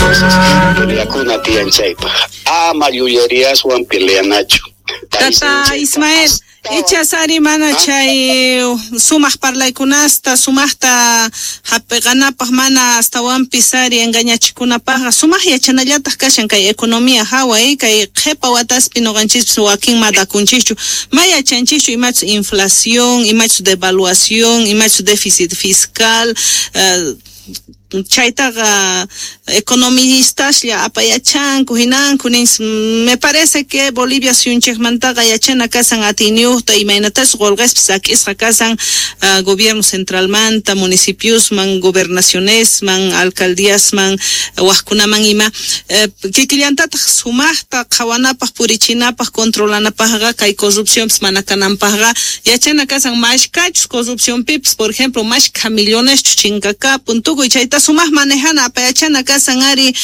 cosas. Peleakuna tiyan chaypaj. Ama llulleriaswan peleanachu. Tata Ismael, ichas ari mana chay sumaq parlaykunasta, sumaqta hap'iqanapaq mana astawanpis ari engañachikunapaqqa sumaq yachanallataq kashan kay economía hawa, kay qhipa wataspi noqanchispis wakin madakunchischu, ma yachanchischu imachus inflación, imachus devaluación, imachus déficit fiscal, chaytaqa economistaslla apayachanku hinanku nin. Me parece que Bolivia suyunchikmantaqa yachana kasan atiyniyuqta imaynatas qolqespis sak'isqa kasan gobierno centralmanta, municipiosman, gobernacionesman, alcaldíasman, wajkunaman ima kikillantataq sumaqta qhawanapaq, purichinapaq, controlanapaqqa kay corrupcionpis mana kananpaqqa yachana kasan mashkachus corrupcionpipis, por ejemplo, mashkha milloneschus chinkakapun tukuy chayta sumaq manejana apayachana kasan ari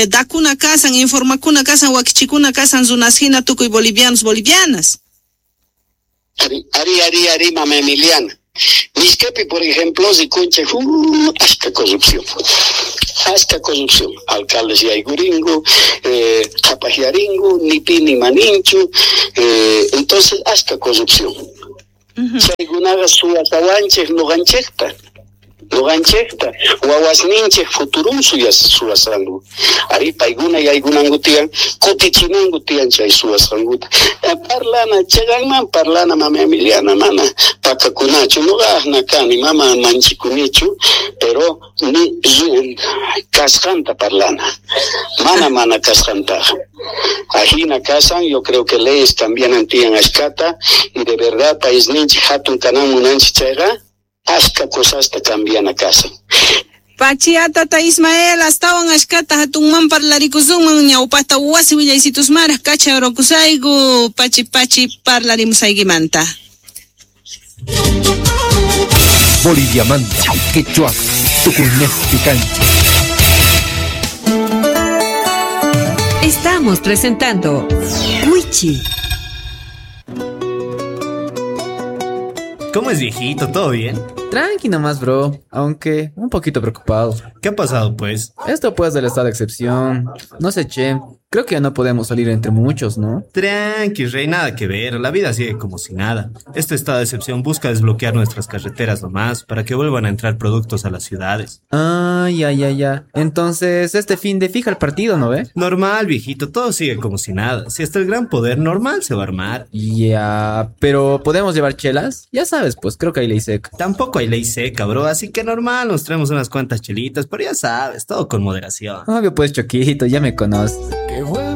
dakuna kasan, informakuna kasan, wakichikuna kasan runas hina tukuy bolivianos, bolivianas. Ari, ari, ari, ari, mama Emiliana. Mishkepi, por ejemplo, rikunchej, ashka corrupción. Ashka corrupción. Alcaldes yaykuringu, qhapajyaringu, ni pi ni maninchu. Entonces, ashka corrupción. Chaykunaqa suwasawanchej noqanchejta. Noqanchejta, wawasninchej futurun suwasanku. Ari paykuna yaykunanku tiyan, kutichinanku tiyan chay suwasqankuta. Parlana, chayman parlana, mama Emiliana, mana pakakunachu, noqajna kani, mama manchikunichu, pero ni kasqanta parlana, mana mana kasqantaqa. Ajina kasan, yo creo que leyes también tiyan ashkata, y de verdad paisninchik hatun kanan munanchik chayqa, ashka cosasta cambiana casa. Pachi tata Ismael, astawan ashkata hatunman parlarikusunman ñawpata wasi willaysitusmaraj kacha orokusayku pachi pachi parlarimusaykimanta. Boliviamanta, quechua, tucunesti cancha. Estamos presentando Wichi. ¿Cómo es, viejito? ¿Todo bien? Tranqui nomás, bro, aunque un poquito preocupado. ¿Qué ha pasado, pues? Esto pues del estado de excepción. No sé, che, creo que ya no podemos salir entre muchos, ¿no? Tranqui, rey, nada que ver. La vida sigue como si nada. Este estado de excepción busca desbloquear nuestras carreteras nomás para que vuelvan a entrar productos a las ciudades. Ah, ya, ya, ya. Entonces, este fin de fija el partido, ¿no ve? Normal, viejito, todo sigue como si nada. Si hasta el gran poder normal se va a armar. Ya, pero ¿podemos llevar chelas? Ya sabes, pues creo que hay ley seca. Tampoco hay ley seca, bro, así que normal, nos traemos unas cuantas chelitas, pero ya sabes, todo con moderación. Obvio, pues, Choquito, ya me conoces.